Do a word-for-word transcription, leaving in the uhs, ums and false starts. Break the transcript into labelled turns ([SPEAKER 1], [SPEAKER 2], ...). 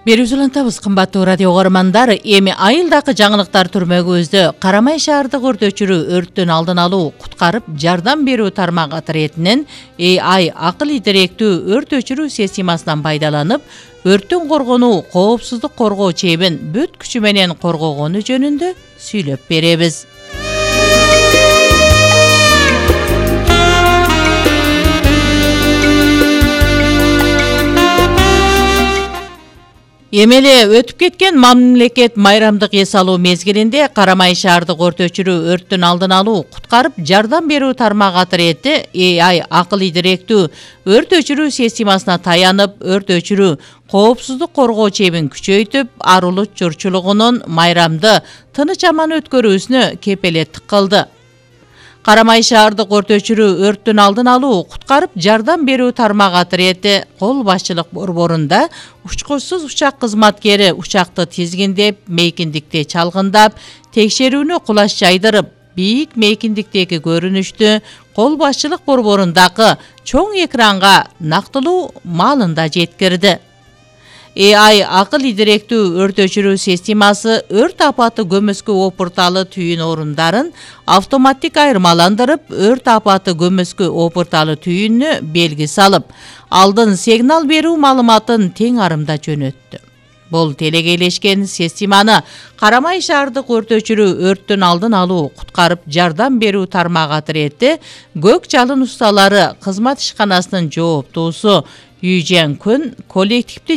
[SPEAKER 1] Берүүбүз улантабыз, кымбаттуу радио угармандар. Эми айылдагы жаңылыктар түрмөгүбүздө Карамай шаардык өрт өчүрүү, өрттүн алдын алуу, куткарып жардам берүү тармак атретинен A I акыл идеректүү өрт өчүрүү системасынан пайдаланып, өрттөн коргонуу, коопсуздук коргоо чебин бүт күчү менен коргогону жөнүндө сүйлөп беребиз. Эмеле өтүп кеткен мамлекет майрамдык эс алуу мезгилинде Карамай шаардык өрт өчүрүү, өрттүн алдын алуу, куткарып жардам берүү тармак атрети A I акыл идеректүү өрт өчүрүү системасына таянып, өрт өчүрүү, коопсуздук коргоо чебин күчөйтүп, арылыч журчулугунун майрамды тыныч аман өткөрүүсүнө кепелеттик кылды. Карамай шаардык өрт өчүрүү, өрттүн алдын алуу, куткарып жардам берүү тармак атрети кол башчылык борборунда учкучсуз учак кызматкери учакты тизгиндеп, мейкиндикте чалгындап, текшерүүнү кулаш жайдырып, бийик мейкиндиктеги көрүнүштү кол башчылык борборундагы чоң экранга нактылуу маалында жеткирди. A I акыл идеректүү өрт өчүрүү системасы өрт апаты көмөскө опурталы түйүн орундарын автоматтик айырмаландырып, өрт апаты көмөскө опурталы түйүнү белги салып, алдын сигнал берүү маалыматын тең арымда жөнөттү. Бул телегейлешкен системаны Карамай шаардык өрт өчүрүү, өрттүн алдын алуу, куткарып жардам берүү тармак атрети көк жалын усталары кызмат ишканасынын жооптуусу Үйжен Күн коллективдүү